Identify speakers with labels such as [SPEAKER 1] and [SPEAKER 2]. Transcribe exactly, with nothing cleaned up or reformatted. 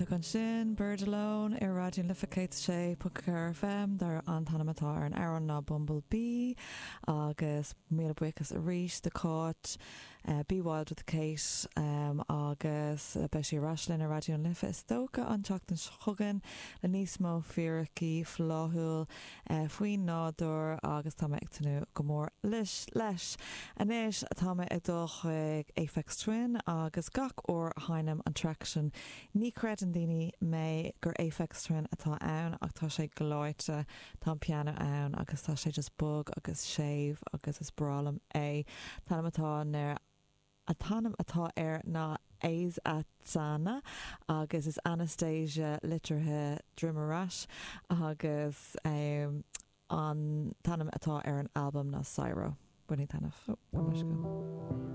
[SPEAKER 1] Iontach ansin Bird Alone ar Raidió Life céad sé ponc ceathair FM dar an t-ainm atá ar an amhrán ná Bumblebee agus míle buíochas arís do Cáit uh, Be Wild with Kate um, agus beidh sí ar ais linn ar Raidió Life is dócha an tseachtain seo chugainn le níos mó fíricí fláthúil uh, faoin nádúr agus tá mé ag tnúth go mór leis leis. Anois tá mé ag dul chuig Aphex Twin agus gach uair a sheinnim an track sin ní chreideann daoine mé gur Aphex Twin atá ann ach tá sé gleoite tá piano ann agus tá sé just bog agus séimh agus is breá liom é. Tá atá ar an t-ainm atá air ná Azatana agus is Anastasia litrithe droim ar ais agus um, an t-ainm atá ar an albam ná Syro. Buní tanmh. Oh,